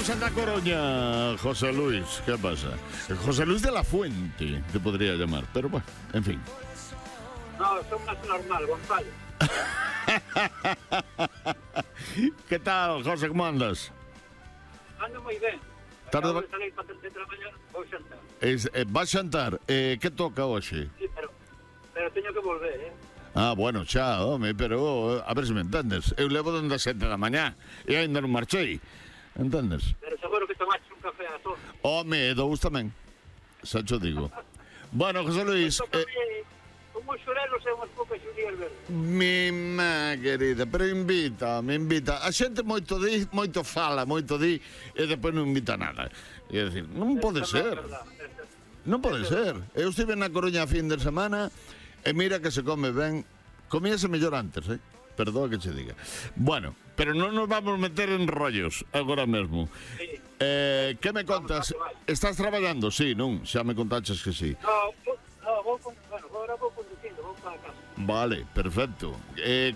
tenemos en La Coruña, José Luis. ¿Qué pasa? José Luis de la Fuente, te podría llamar, pero bueno, en fin. No, son más normal, Gonzalo. ¿Qué tal, José? ¿Cómo andas? Ando moi ben. Tarde Acabo va- de salir para traballar, vou xantar. Vas xantar. Que toca hoxe? Sí, pero teño que volver, Ah, bueno, xa, home, pero a ver se me entendes. Eu levo donde as 7 da mañá e ainda non marchei. Entendes? Pero seguro que tomaste un café a todos. Home, dous tamén. Xa cho digo. Bueno, José Luis, Como xurelos e unhas poucas xudías verdes. mi má querida, pero invita. A xente moito di, moito fala, moito di e depois non invita nada. É dicir, non pode ser. Non pode ser. Eu estive na Coruña a fin de semana e mira que se come ben. Comíase mellor antes, Perdoa que che diga. Bueno, pero non nos vamos meter en rollos agora mesmo. Sí. Que me contas? Estás traballando? Sí, non? Xa me contaches que sí. Agora vou conducindo, vou para a casa. Vale, perfecto.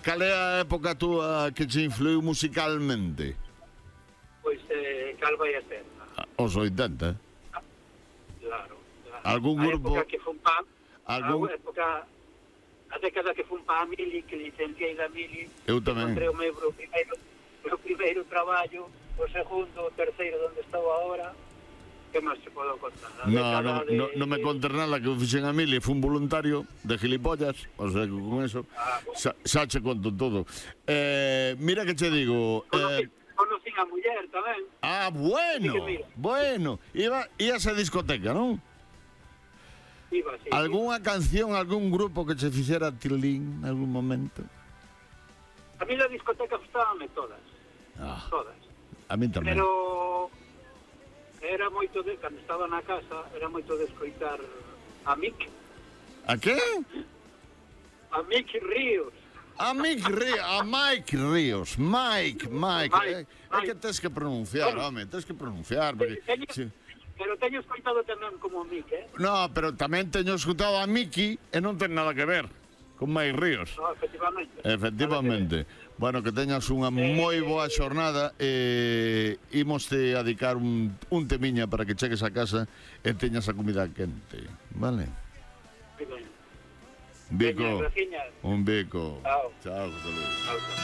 Cal é a época túa que te influiu musicalmente? Pois, cal vai a ser? Os 80. Claro. Algún grupo- A época que fun pa... Algún- A época... A década que fun pa a Mili, que licenciei da Mili. Eu tamén. Encontrei o meu primeiro traballo, o segundo, o terceiro, onde estou agora. Que máis se podo contar? A década de- Non me contes nada que eu fixen a mil e fun voluntario de gilipollas, o sea que con eso xa che conto todo. Mira que che digo... Conocín a muller tamén. Bueno, Sí que mira. bueno. Ibas a discoteca, non? Iba, sí. Algúnha canción, algún grupo que che fixera tilín en algún momento? A mí na discoteca gustábame todas. Todas. A mí tamén. Pero... Era moito de... Cando estaba na casa, era moito de escoitar a Mick. A que? A Mick Ríos. A Mike Ríos. Mike. É que tens que pronunciar, home, tens que pronunciar. Porque, sí. Pero teño escoitado tamén como Mick, No, pero tamén teño escutado a Miki e non ten nada que ver con Mike Ríos. No, efectivamente. Efectivamente. Bueno, que teñas unha moi boa xornada e imoste a dedicar un temiña para que chegues a casa e teñas a comida quente, vale? Muy ben. Bico, Veña, graciñas. un bico. Chao. Chao, José Luis. Chao, chao.